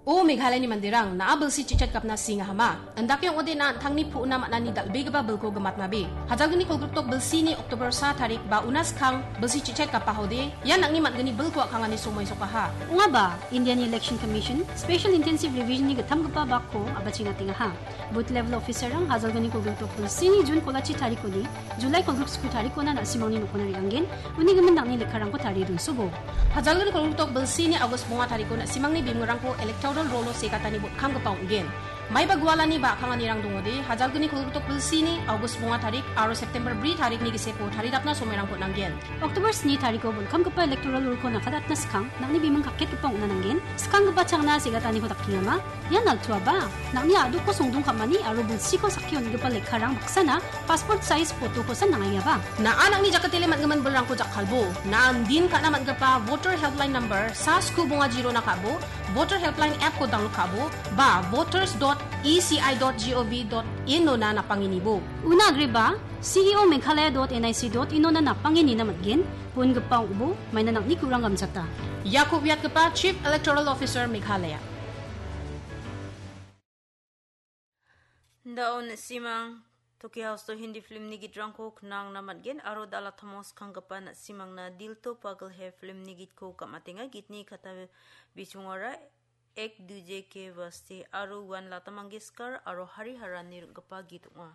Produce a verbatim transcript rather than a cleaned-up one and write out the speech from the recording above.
O Meghalayani manderang, na·a bilsi chichet gapna singahama? Indake ong·ode na an·tangni pu·na man·ani dal·begipa bilko gimatnabe. Hajalgni kolgrikdok bilsini October sa tarik ba una skang bilsi chichet gapahode, ian nang·ni man·gni bilko a·kangani somoi sokaha. Ong·aba, Indiani Election Commission Special Intensive Revision-ni gittamgipa bakko a·bachengatengaha. Booth level officer-rang hajalgni kolgrikdok bilsini June kolachi tarikoni July kolgrik sku tarikona na·simangni nokona re·angen, uni gimin nang·ni lekkarangko tarie donsobo. Hajalgni kolgrikdok bilsini August bonga tariko na·simangni bimingrangko electoral rolo segatani botkamgipa ong·gen. Maiba gualani ba a·kanganirang dongode, hajalgni kolgrikdok bilsini August bonga tarik aro September bri tarikni giseko taridapna somoirangko nanggen. October sni tariko botkamgipa electoral rolo nakadatna skang, nang·ni biming kaketgipa ong·na nanggen. Skanggipa changna segataniko dakengama? Ian naltuaba, nang·ni a·dokko songdong ka·mani aro bilsiko sakki on·gipa lekkarang baksana passport size photo-kosan nang·aiaba. Na·a nang·ni jakatele man·gimin bilrangko jakkalbo. Na·a din ka·na man·gipa voter helpline number sa sku bonga jirona ka·bo, voter helpline app-ko download ka·bo, ba voters dot E C I dot G O V dot in-ona napangenibo. Una agreba, C E O Meghalaya dot N I C dot in-ona napangenina man·gen, bongipa ong·bo, maina nang·ni kurang gamchata. Iako uiatgipa Chief Electoral Officer Meghalaya. Indao na·simang Tokyo House-o Hindi film-ni gitrangko knangna man·gen aro dal·a tamo skanggipa na·simangna Dil To Pagal Hai film-ni gitko gam·atenga. Gitni kata bisongara Ek Duje Ke Waste aro uan Lata Mangeshkar aro Hari Haran-ni ring·gipa git ong·a.